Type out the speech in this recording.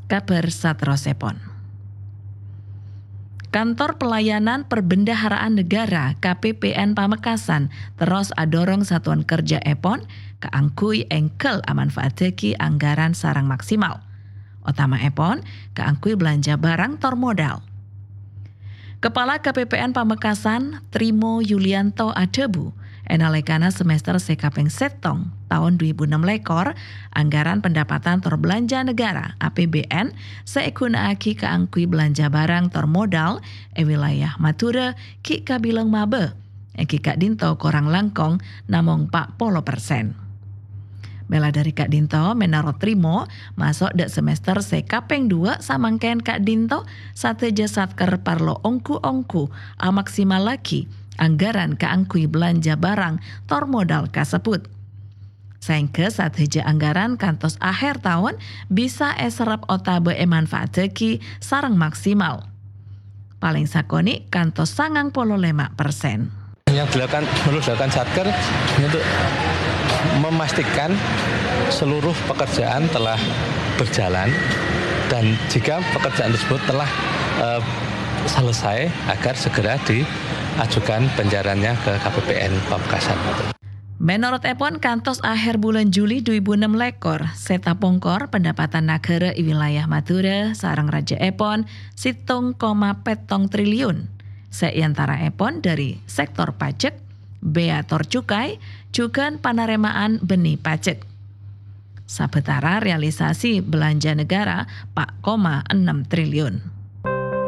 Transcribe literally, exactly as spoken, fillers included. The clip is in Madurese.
Kabhâr saterrossèpon. Kantor Pelayanan Perbendaharaan Negara, K P P N, Pamekasan terros adhârâng satuan kerjâèpon kaangghuy èngghâl amanfaattaghi anggaran sareng maksimal, otama'èpon kaangghuy belanja barang tor modal. Kepala K P P N Pamekasan, Trimo Yulianto adhâbu, è nalèkana semester sè kapèng sèttong taon dhu èbu ennem lèkor, anggaran pendapatan tor belanja negara, A P B N, sè èghuna'aghi kaangghuy belanja barang tor modal è wilayah Madhurâ ghi' kabilang mabâ, èngghi ka'dinto korang langkong namong pa' polo persen. Mèla dhâri ka'dinto, mènorot Trimo, maso' dâ' semester sè kapèng dua samangkèn ka'dinto, sadhâjâ satker parlo ongghu-ongghu amaksimallaghi anggaran kaangghuy belanja barang tor modal kasebbhut. Saèngghâ sadhâjâ anggaran kantos akhèr taon bisa èserrep otabâ èmanfaattaghi sareng maksimal. Palèng sakonè' kantos sangang polo lèma persen. Yang dilakukan, perlu dilakukan Satker untuk memastikan seluruh pekerjaan telah berjalan dan jika pekerjaan tersebut telah, eh, selesai, agar segera diajukan pencairannya ke K P P N Pamekasan. Mènorotèpon, kantos akhèr bulân Juli dhu èbu ennem lèkor, sè tapongkor pendapatan naghârâ è wilayah Madhurâ sareng rajâèpon sèttong koma pèttong triliun, sè è antaraèpon dhâri sèktor pajek, bea tor cukai, jhughân panarèma'an bhennè pajek. Sabâtara realisasi belanja negara pa' koma ennem triliun.